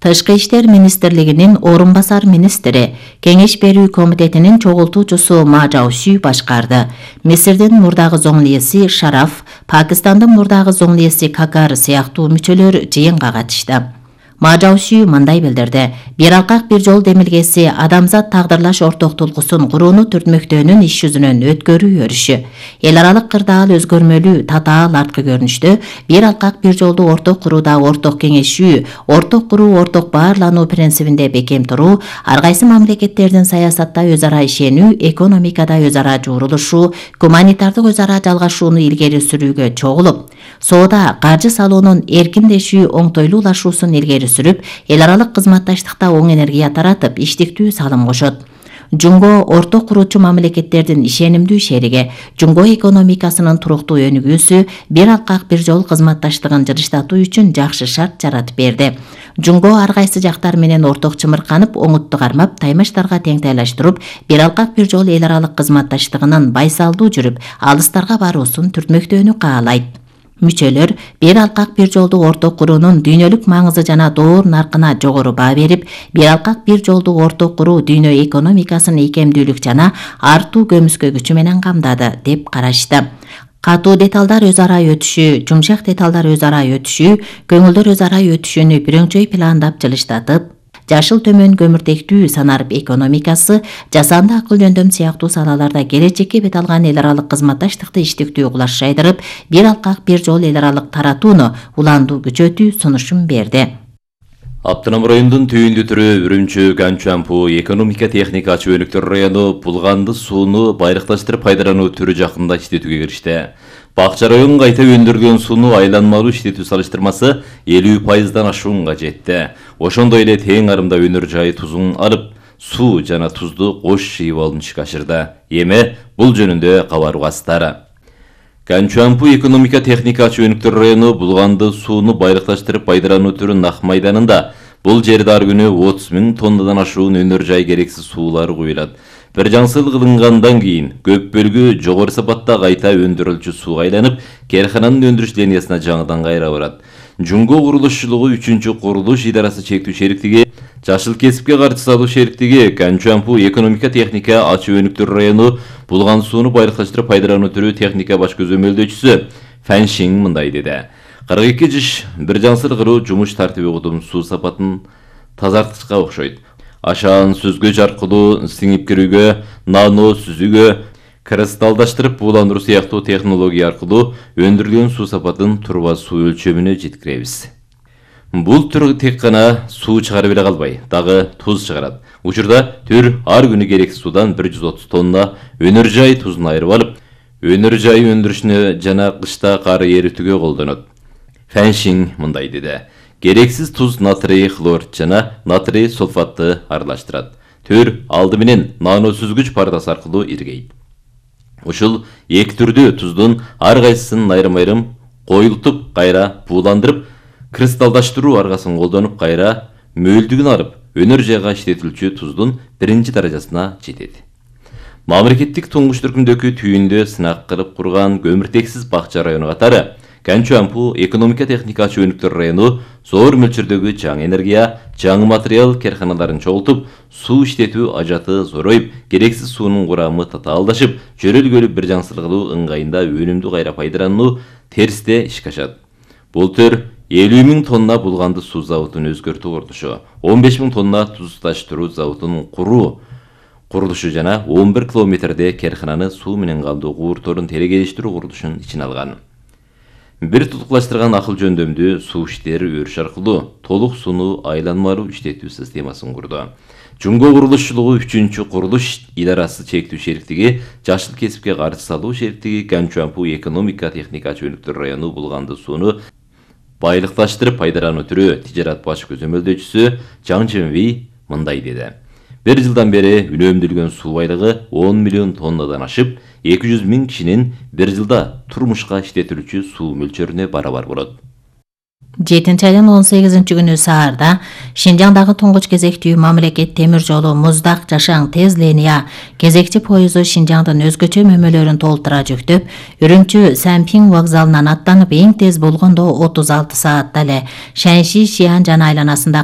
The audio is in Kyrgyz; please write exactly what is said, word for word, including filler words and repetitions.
Тышкы иштер министрлигинин орун басар министри, Кеңеш берүү комитетинин чогултуучусу Ма Чжаоши башкарды. Мисирдин мурдагы зоңлиеси Шараф, Пакистандын мурдагы зоңлиеси Какар сыяктуу мүчөлөр жыйынга катышты. Ма Чжаоши мындай билдирди: бир алкак бир жол демилгеси адамзат тагдырлаш ортоктулгусун курууну түртмөктөөнүн иш жүзүнөн өткөрүү өрүшү. Эл аралык кырдаал өзгөрмөлүү, татаал арткы көрүнүштө бир алкак бир жолду орток курууда орток кеңешүү, орток куруу, орток баарлануу принцибинде бекем туруу, ар кайсы мамлекеттердин саясатта өз ара ишенүү, экономикада өз ара жуурулушуу, гуманитардык өз ара жалгашууну илгери сүрүүгө чогулуп, соода, каржы салуунун эркиндешүү, оңтойлуулашуусун илгери сүрүп, эл аралык кызматташтыкта оң энергия таратып, иштиктүү салым кошот. Жумго орток куруучу мамлекеттердин ишенимдүү шериги, Жумго экономикасынын туруктуу өнүгүүсү бир алкак бир жол кызматташтыгын жырыштатуу үчүн жакшы шарт жаратып берди. Жумго ар кайсы жактар менен орток чымырканып, оңутту кармап, таймаштарга теңтайлаштырып, бир алкак бир жол эл аралык кызматташтыгынын байсалдуу жүрүп, алыстарга баруусун түртмөктөөнү каалайт. Мүчөлөр бир алкак бир жолду орток куруунун дүйнөлүк маңызы жана доор наркына жогору баа берип, бир алкак бир жолду орток куруу дүйнө экономикасын ийкемдүүлүк жана артуу көмүскө күчү менен камдады деп карашты. Катуу деталдар өз ара өтүшүү, жумшак деталдар өз ара өтүшүү, көңүлдөр өз ара өтүшүүнү бирөңчөй пландап жылыштатып, жашыл төмөн көмүртектүү санарып экономикасы, жасанды акыл жөндөм сыяктуу салаларда келечекке бет алган эл аралык кызматташтыкты иштиктүү кулаш жайдырып, бир алкак бир жол эл аралык таратууну уландуу күчөтүү сунушун берди. Аптынам районунун түйүндүү түрү Үрүмчү Ганчуампу экономика техника чөйрөктөр району булганды сууну байракташтырып пайдалануу түрү жакында иштетүүгө киришти. Бакча районунун кайта өндүрүлгөн сууну айланмалуу иштетүү салыштырмасы элүү пайыздан ашуунга жетти. Ошондой эле тең арымда өнөр жайы тузун алып, суу жана тузду кош жыйып алууну ишке ашырды. Эми бул жөнүндө кабар угасыздар. Ганчуампу экономика техника чөйрөктөр району булганды сууну байракташтырып пайдалануу түрүнүн ак майданында бул жерде ар күнү отуз миң тоннадан ашуун өнөр жай керексиз суулар куюлат. Бир жаңсыл кылынгандан кийин көп бөлүгү жогору сапатта кайта өндүрүлчү сууга айланып, керкананын өндүрүш линиясына жаңыдан кайра барат. Жумго курулушчулугу үчүнчү курулуш идарасы чектүү шериктиги, Жашыл кесипке каршы салуу шериктиги Ганчуампу экономика техника ачуу өнүктөр району булган сууну байракташтырып пайдалануу түрү техника баш көзөмөлдөөчүсү Фэн Шинг мындай деди. кырк эки жыш бир жаңсыл кылуу жумуш тартиби угдум суу сапатын тазартышка окшойт. Ашаан сүзгүч аркылуу сиңип кирүүгө, нано сүзүүгө, кристалдаштырып бууландыруу сыяктуу технология аркылуу өндүрүлгөн суу сапатын турба суу өлчөмүнө жеткиребиз. Бул түр тек гана суу чыгарып эле калбай, дагы туз чыгарат. Учурда түр ар күнү керексиз суудан бир жүз отуз тонна өнөр жай тузун айырып алып, өнөр жай өндүрүшүнө жана кышта кар эритүүгө колдонот. Фэн Шинг мындай деди. Керексиз туз натрий хлор жана натрий сульфатты аралаштырат. Түр алды менен нано сүзгүч партасы аркылуу иргейт. Ушул эки түрдүү туздун ар кайсысын айрым-айрым коюлтуп, кайра бууландырып, кристалдаштыруу аргасын колдонуп, кайра мөлдүгүн алып, өнөр жайга иштетилчү туздун биринчи даражасына жетет. Мамлекеттик туңгуш түркүмдөгү түйүндө сынак кылып курган көмүртексиз бакча району катары Ганчуампу экономика техника ачуу өнүктөр району зор мөлчөрдөгү жаңы энергия, жаңы материал керканаларын чогултуп, суу иштетүү ажаты зоройуп, керексиз суунун курамы татаалдашып, жөрөлгөлү бир жаңсыл кылуу ыңгайында өнүмдү кайра пайдалануу терсте ишке ашат. Бул төр элүү миң тонна булганды суу заводун өзгөртүү курулушу, он беш миң тонна туз таштыруу заводунун куруу курулушу жана он бир километрде керкананы суу менен калдуу куурторун терегелештирүү курулушун ичине алган. Бир тутуклаштырган акыл жөндөмдүү суу иштери өрүш аркылуу толук сууну айланмалуу иштетүү системасын курду. Жумго курулушчулугу үчүнчү курулуш идарасы чектүү шериктиги, Жашыл кесипке каршы салуу шериктиги Ганчуампу экономика техника ачуу өнүктөр району булганды сууну байлыкташтырып пайдалануу түрү тижарат баш көзөмөлдөөчүсү Жаң Чжэнвэй мындай деди. Бир жылдан бери үнөмдөлгөн суу байлыгы он миллион тоннадан ашып, эки жүз миң кишинин бир жылда турмушка иштетилүүчү суу мөлчөрүнө барабар болот. жетинчи айдын он сегизинчи күнү саарда Шинжаңдагы туңгуч кезектүү мамлекет темир жолу Муздак Жашаң тез линия кезекчи поезу Шинжаңдын өзгөчө мөмөлөрүн толтура жүктөп, Үрүмчү Сянпиң вокзалынан аттанып, эң тез болгондо отуз алты саатта эле Шэньши Шиан жана айланасында